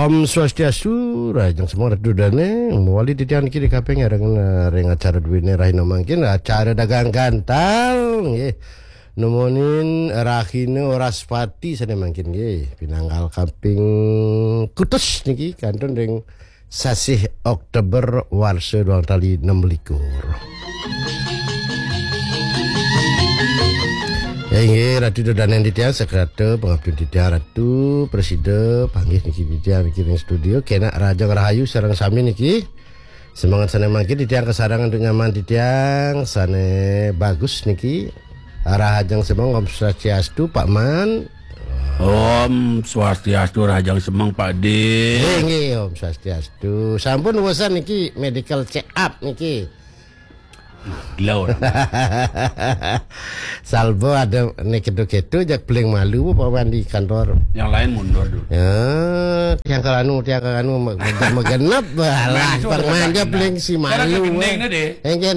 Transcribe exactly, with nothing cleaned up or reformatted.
Om Swastiastu, rahajeng semeng Ratu Dane, mawali titiang niki ring, ring acara duene rahina mangkin, acara dagang gantal, nggih. Numunin rahina Wraspati sane mangkin nggih, pinanggal kaping kutus niki kantun ring sasih Oktober warsa dua tali enam likur. Inggih, Ratu Dodanen titiang, sekrata pangaptin titiang, Ratu, prasida, panggih niki titiang niki ring studio, kenak rahajeng rahayu sareng sami niki. Semengan sane mangkin titiang kasareng antuk nyaman titiang, sane bagus niki. Rahajeng semeng, Om Swastiastu, Pak Man. Om Swastiastu, rahajeng semeng, Pak De. Inggih, Om Swastiastu. Sampun wusan niki medical check up niki. Gila orang. Salba ada nek ketu-ketu jak paling malu, Pak Man, di kantor. Yang lain mundur dulu. Ya, tiang kalanu, tiang kalanu, me-, me-, megenep, balah, masuk permanja paling si malu. Sekarang kegending nih, deh. Inggih,